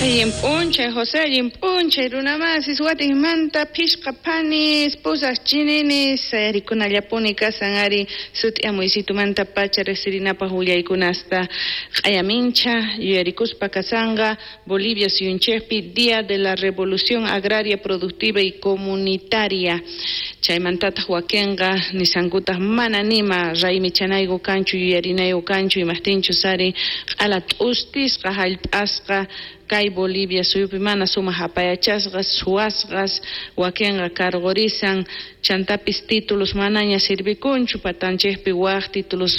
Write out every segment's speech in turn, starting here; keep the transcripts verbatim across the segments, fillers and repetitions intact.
Allin p'unchay José, allin p'unchay runamasis watinmanta phishqa phanis pusaq chininis sayarikunallapuni kasan ari sut'iyamuysitumanta pacha riqsirinapaq willaykunasta q'ayamincha yuyarikuspa kasanqa Bolivia suyunchikpi Día de la Revolución Agraria Productiva y Comunitaria chaymantataq wakinqa nisankutaq mana nima raymichanayku kanchu yuyarinayku kanchu imaqtinchus ari q'ala t'ustisqa hallp'asqa kay Bolivia suyupi mana sumaq apayachasqas suwasqas wakinqa karqurisan chantapis títulos manaña sirvikunchu patanchikpi waq títulos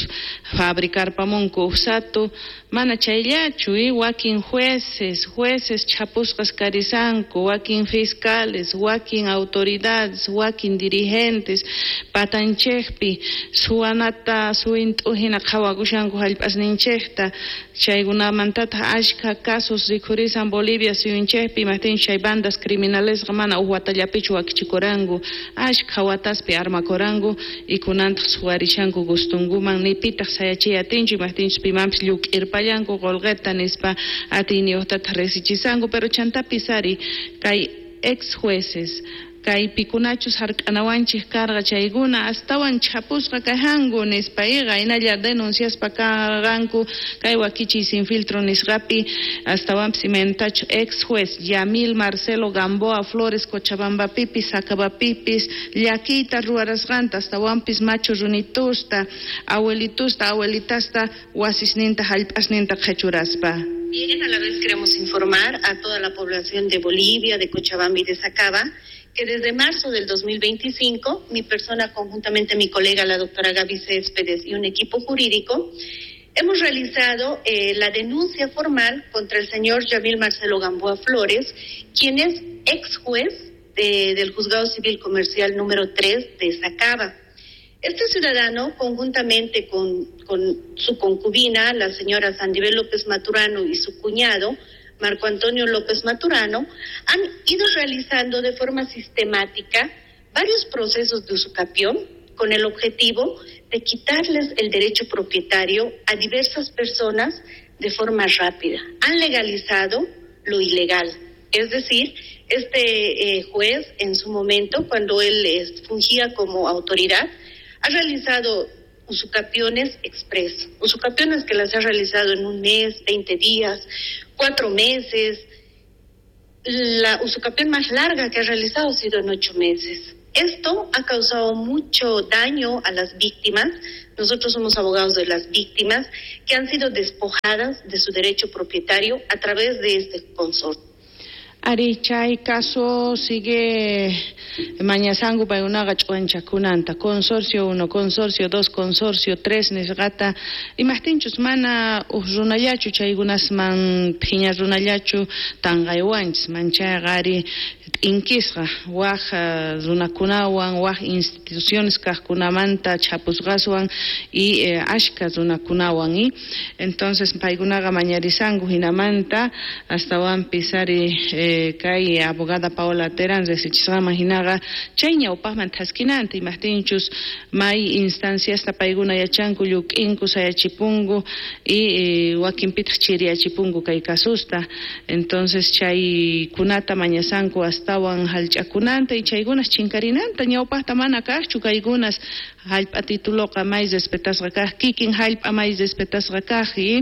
fabricarpamunku uqsatu mana chayllachu y wakin jueces jueces chapusqas karisanku wakin fiscales wakin autoridades wakin dirigentes patanchikpi suwanata suwint'uhina qhawakushanku hallp'asninchikta chaykunamantataq ashka casos rikhurisan Bolivia suyunchikpi imaqtinchus chay bandas criminalesqa mana uj watallapichu wakichikuranku ashka wataspi armakuranku y kunantaq suwarishanku gustunkuman nipitaq sayachiy atinchu imaqtinchus pimanpis lluk'irpallanku qolqeta nispa atiyniyuqtataq risichisanku pero chantapis ari kay ex jueces kay pikunachus hark'anawanchik karqa chaykuna astawan chapusqa kajanku nispa iqa hinalla denunciaspa karqanku kay wakichiy sin filtro nisqapi astawanpis imaynatachu ex juez Yamil Marcelo Gamboa Flores Cochabambapipis Sacabapipis llakiyta ruwarasqanta astawanpis machu runitusta abuelitusta abuelitasta wasisninta hallp'asninta qhichuraspa. Bien, a la vez queremos informar a toda la población de Bolivia, de Cochabamba y de Sacaba, que desde marzo del dos mil veinticinco, mi persona conjuntamente mi colega, la doctora Gaby Céspedes, y un equipo jurídico, hemos realizado eh, la denuncia formal contra el señor Yamil Marcelo Gamboa Flores, quien es ex juez de, del Juzgado Civil Comercial número tres de Sacaba. Este ciudadano, conjuntamente con, con su concubina, la señora Sandibel López Maturano, y su cuñado, Marco Antonio López Maturano, han ido realizando de forma sistemática varios procesos de usucapión con el objetivo de quitarles el derecho propietario a diversas personas de forma rápida. Han legalizado lo ilegal, es decir, este eh, juez en su momento, cuando él eh, fungía como autoridad, ha realizado usucapiones express, usucapiones que las ha realizado en un mes, veinte días, cuatro meses. La usucapión más larga que ha realizado ha sido en ocho meses. Esto ha causado mucho daño a las víctimas. Nosotros somos abogados de las víctimas que han sido despojadas de su derecho propietario a través de este consorcio. Ari chay caso sigue mañasangu paykunaqa ch'uwanchakunanta consorcio uno, consorcio dos, consorcio tres nisqata imaqtinchus mana uj runallachu chaykunasman phiña runallachu tanqaywanchis manchayqa ari t'inkisqa waj runakunawan waj instituciones kaqkunamanta chapusqaswan y eh, ashka runakunawan y entonces paykunaqa mañarisanku hinamanta astawanpis ari eh, kay abogada Paola Terán riqsichisqaman hinaqa chay ñawpaqman thaskinanta imaqtinchus may instanciasta paykuna yachanku lluk'inku sayachipunku y eh, wakinpitaq chiriyachipunku kay kasusta entonces chaykunata mañasanku astawan hallch'akunanta y chaykunas chinkarinanta ñawpaqta mana kaqchu kaykunas hallp'a tituloqa may respetasqa kaq kikin hallp'a may respetasqa kaq y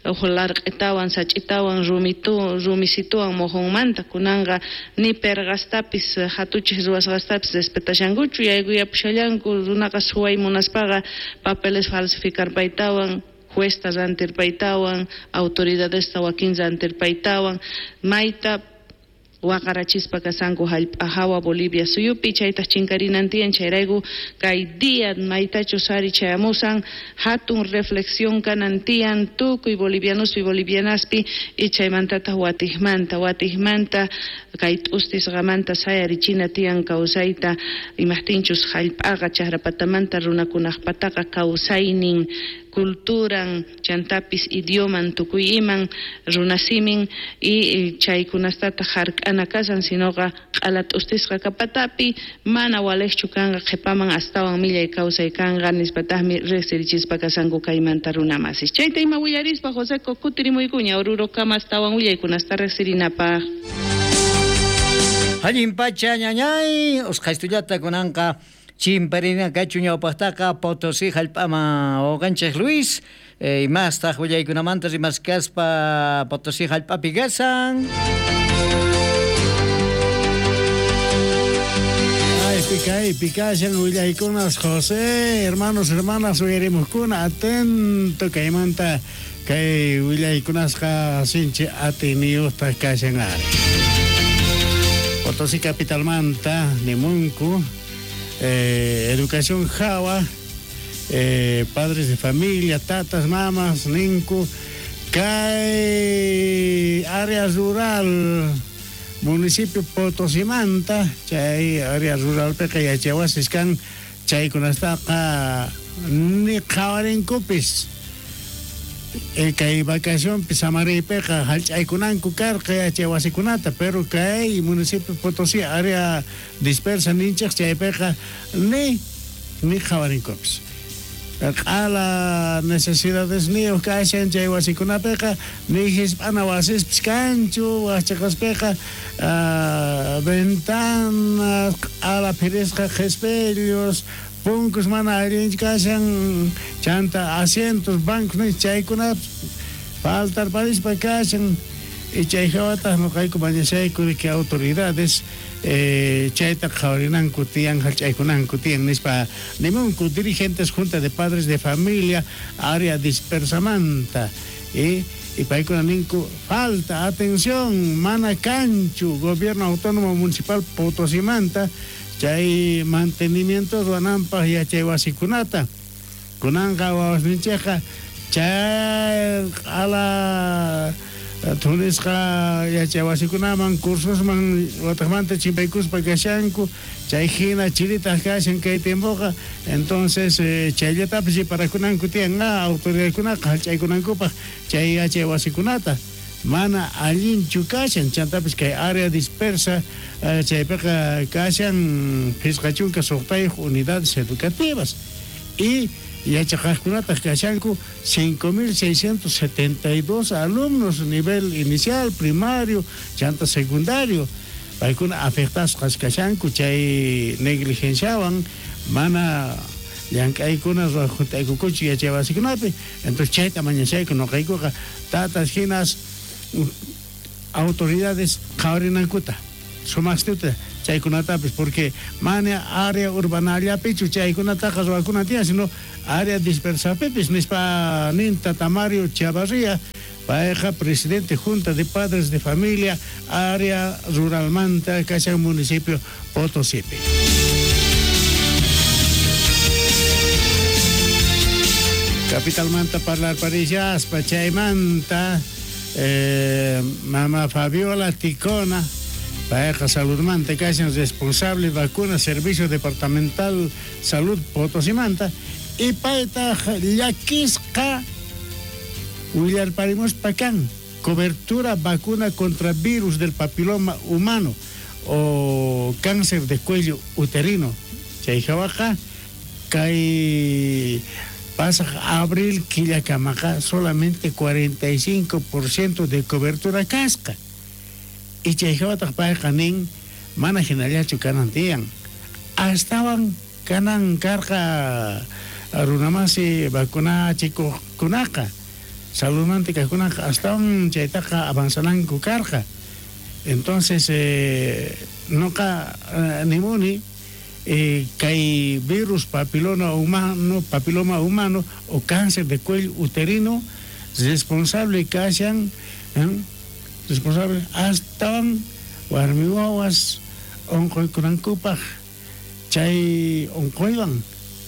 uj larq'itawan sach'itawan rumitu rumisituwan mojonmanta kunanqa ni perqastapis hatuchik ruwasqastapis respetashankuchu yaykuyapushallanku runaqa suway munaspaqa papeles falsificarpaytawan juezta rantirpaytawan autoridadesta wakin rantirpaytawan mayta waqarachispa kasanku hallp'a hawa Bolivia suyupi chaytaq chinkarinan tiyan chayrayku kay día maytachus ari chayamusan hatun reflexión kanan tiyan tukuy bolivianospi bolivianaspi y chaymantataq watijmanta watijmanta kay t'ustisqamanta sayarichina tiyan kawsayta imaqtinchus hallp'aqa chakrapatamanta runakunaqpataqa kawsaynin culturan chantapis idioman tukuy iman runasimin y chaykunastata hark'ana kasan sinoqa q'ala t'ustisqa kapatapi mana walejchu kanqa qhipaman astawan millay kawsay kanqa nispataqmi riqsirichispa kasanku kaymanta runamasis. Chayta ima willarispa Joseco kutirimuykuña Orurokama astawan willaykunasta riqsirinapaq. Allin pacha ñañay usqhaystullata kunanqa chimparina kachu ñawpaqtaqa Potosí hallp'aman wawqanchik Luis eh, imastaq willaykunamanta rimaskaspa Potosí hallp'api kasan. Ay, pikay, pikashan willaykunas José, hermanos, hermanas, uyarimuqkuna atento kaymanta kay willaykunasqa sinchi atiniyuqtaq kashan ari. Potosí capitalmanta nimunku eh, educación jawa eh, padres de familia, tatas, mamas, ninku kay área rural municipio Potosimanta chay área rural peqa yachaywasis kan chaykunastaqa ni qhawarinkupis eh, kay vacacionpi samariypiqa hallch'aykunanku karqa yachaywasikunata pero kay municipio Potosí área dispersa ninchik chaypiqa ni ni qhawarinkupis q'ala necesidadesniyuq kashan chay wasikunapiqa ni hisp'ana wasispis kanchu waqchaqaspiqa uh, ventanas q'ala phirisqa qhispillos punkus mana allinchu kashan chanta asientos bancos ni chaykunapas faltarparispa kashan y chay hawataq nuqayku mañashayku que autoridades eh, chayta qhawarinanku tiyan hallch'aykunanku tiyan nispa nimunku dirigentes junta de padres de familia área dispersamanta y y paykuna ninku falta atención mana kanchu gobierno autónomo municipal Potosimanta chay mantenimiento ruwananpaq yachay wasikunata kunanqa wawasninchikqa chay q'ala thunisqa yachay wasikunaman cursosman wataqmanta chimpaykuspa kashanku chay hina chiritaq kashan kay tiempoqa entonces eh, chayllatapis riparakunanku tiyan autoridadkunaqa hallch'aykunankupaq chay yachay wasikunata mana allinchu kashan chantapis kay área dispersa eh, chaypiqa kashan phisqa chunka suqtayuq unidades educativas y yachaqaqkunataq kashanku cinco mil seiscientos setenta y dos alumnos nivel inicial, primario, chanta secundario paykuna afectasqas kashanku chay negligenciawan mana llank'aykuna ruwajut'aykukuchu yachay wasikunapi entonces chayta mañashayku nuqaykuqa tatas hinas autoridades qhawarinankuta sumaqstuta chaykunatapis porque mana área urbanallapichu chaykunataqa ruwakuna tiyan sino área dispersapipis nispa nin tata Mario Chavarría payqa presidente junta de padres de familia área ruralmanta kashan municipio Potosípi. Capitalmanta parlarparishaspa chaymanta eh, mama Fabiola Ticona payqa saludmanta kashan responsable vacuna servicio departamental salud Potosimanta y paytaq llakisqa willarparimuspa kan cobertura vacuna contra virus del papiloma humano o cáncer de cuello uterino chay hawaqa kay pasaq abril killakamaqa solamente cuarenta y cinco por ciento de cobertura kasqa y chay hawataq payqa nin mana hinallachu kanan tiyan astawan kanan karqa runamasi vacunachikuqkunaqa saludmanta kaqkunaqa astawan chaytaqa avanzananku karqa entonces eh, nuqa eh, nimuni eh, kay virus papiloma humano papiloma humano o cáncer de cuello uterino responsable kashan eh, responsable astawan warmi wawas onquykunankupaq chay onquywan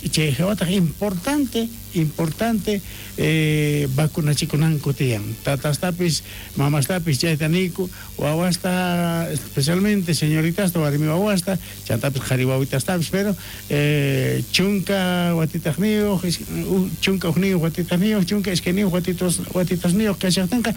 chay hawataq importante importante eh, vacunachikunanku tiyan tatastapis mamastapis chayta niyku wawasta especialmente señoritasta warmi wawasta chantapis qhari wawitastapis pero eh, chunka watitajniyuq chunka ujniyuq watitajniyuq chunka iskayniyuq watitos watitasniyuq kashaqtinqa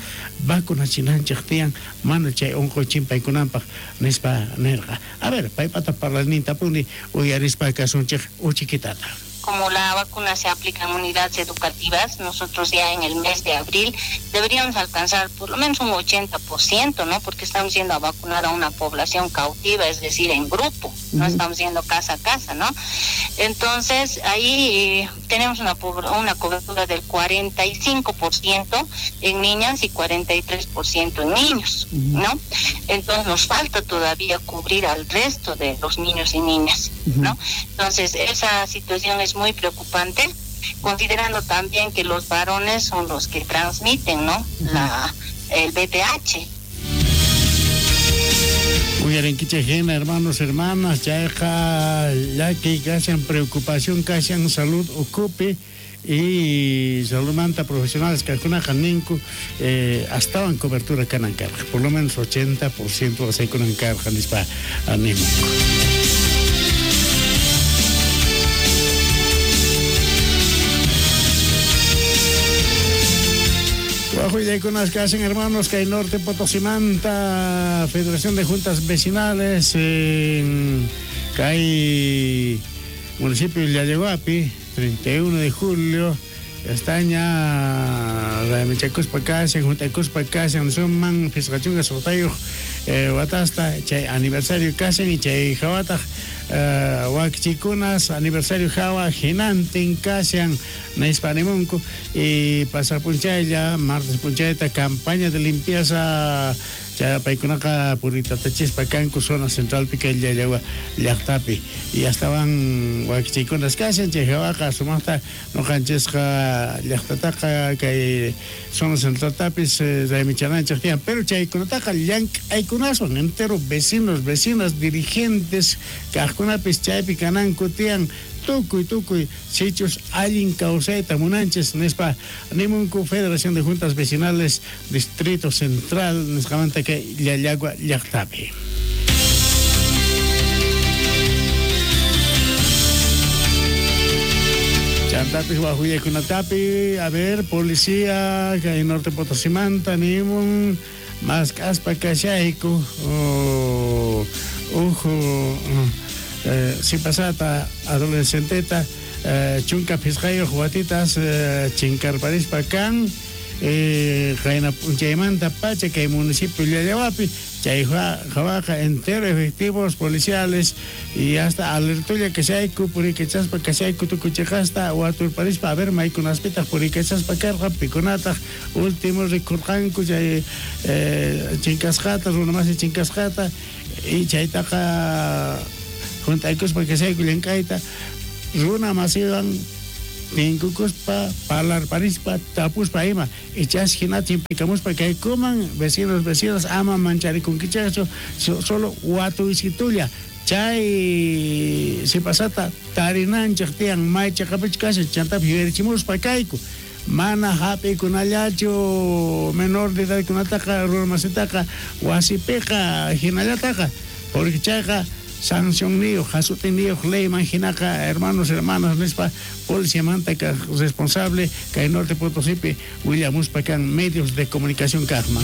vacunachinanchik tiyan mana chay unquy chimpaykunanpaq nispa nirqa. A ver, paypata parlanintapuni uyarispa kasunchik uchikitata. Como la vacuna se aplica en unidades educativas, nosotros ya en el mes de abril deberíamos alcanzar por lo menos un ochenta por ciento, ¿no? Porque estamos yendo a vacunar a una población cautiva, es decir, en grupo, no estamos yendo casa a casa, ¿no? Entonces, ahí eh, tenemos una, una cobertura del cuarenta y cinco por ciento en niñas y cuarenta y tres por ciento en niños, ¿no? Entonces, nos falta todavía cubrir al resto de los niños y niñas, ¿no? Entonces, esa situación es muy preocupante, considerando también que los varones son los que transmiten, ¿no? La, el V P H. Uyarinkichejena, hermanos, hermanas, chayqa llaki kashan preocupación kashan salud ukupi y saludmanta profesionales kajkunaqa ninku eh, astawan cobertura kanan karqa, por lo menos ochenta por ciento asaykunan karqa nispa nimunku. Willaykunas que hacen hermanos que hay Norte Potosimanta, Federación de Juntas Vecinales en Cay municipio de Llallaguapi, treinta y uno de julio, Estaña, Ramichacuspa Casen, Juntacuspa Casen, Suman, Fiscachunga, Sotayuj, Watasta, chay aniversario Casen y chay Jawataj, Huachicunas, aniversario Jawa, Jinantin, Casian, Naispanimunco, y Pasapunchaya, martes Punchayta, campaña de limpieza, Chayapaykunaqa puritatachispa kanku zona central pica Llallagua llaqtapi y astawan wakichikunas kashan chay hawaqa sumaqta nuqanchisqa llaqtataqa kay zona centraltapis raymichananchik tiyan pero chaykunataqa llank'aykunaswan entero vecinos vecinas dirigentes kaqkunapis chaypi kananku tiyan tukuy tukuy sichus allin kawsayta munanchis nispa nimunku Federación de Juntas Vecinales Distrito Central nisqamanta kay Llallagua llaqtapi. Chantapis wajuyaykunatapi, a ver, policía kay Norte Potosimanta nimun mask'aspa kashayku oh, uju Eh, si pasata adolescenteta eh, chunka phisqayuq watitas eh, chinkarparispa kan eh, qayna p'unchaymanta pacha kay municipio Llallahuapi chay hawaqa entero efectivos policiales y hasta alertulla kashayku purikachaspa kashayku tukuchiqasta waturparispa a ver maykunaspitaq purikachaspa karqa pikunataq último rikurqanku chay eh, chinkasqata runamasi chinkasqata y chaytaqa juntaykuspa kashayku llank'ayta runa masiwan tinkukuspa parlarparispa tapuspa ima ichas hina chimpikamuspa kaykuman vecinos vecinas ama mancharikunkichaqchu solo watuysitulla chay sipasata tarinanchik tiyan may chaqapichu kashan chantapis yuyarichimuspa kayku mana hap'ikunallachu menor de edadkunataqa runa masitaqa wasipiqa hinallataqa porque chayqa sanción niyuq, hasut'iniyuq leyman hinaqa hermanos, hermanas nispa policiamanta responsable kay Norte Potosipi willamuspa kan medios de comunicación kaqman.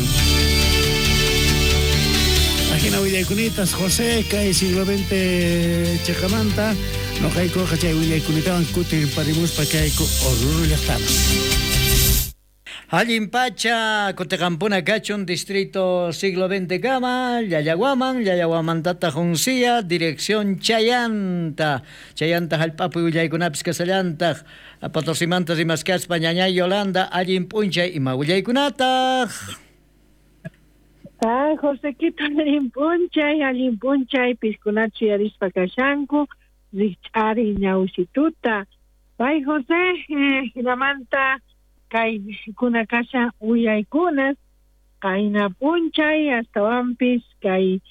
Ajina willayKunitas José kay siglo veinte chiqamanta nuqaykuqa chay willayKunitawan kutirparimuspa kayku Oruro llaqtaman. Allin pacha, Cotecampuna kachun, distrito siglo veinte kama, Llallaguaman, Llallaguamantata Juncia, dirección Chayanta, Chayanta jallp'api willaykunapis kasallantaq, Potosimanta rimaskaspa ñañay Yolanda, allin p'unchay ima willaykunataq. Ah, Josequito, allin p'unchay, allin p'unchay, piskunachu yuyarispa kashanku, rikch'ari ñawsituta. Pay José, eh, hinamanta kay kuna kasha willaykunas, qayna p'unchay, astawanpis kay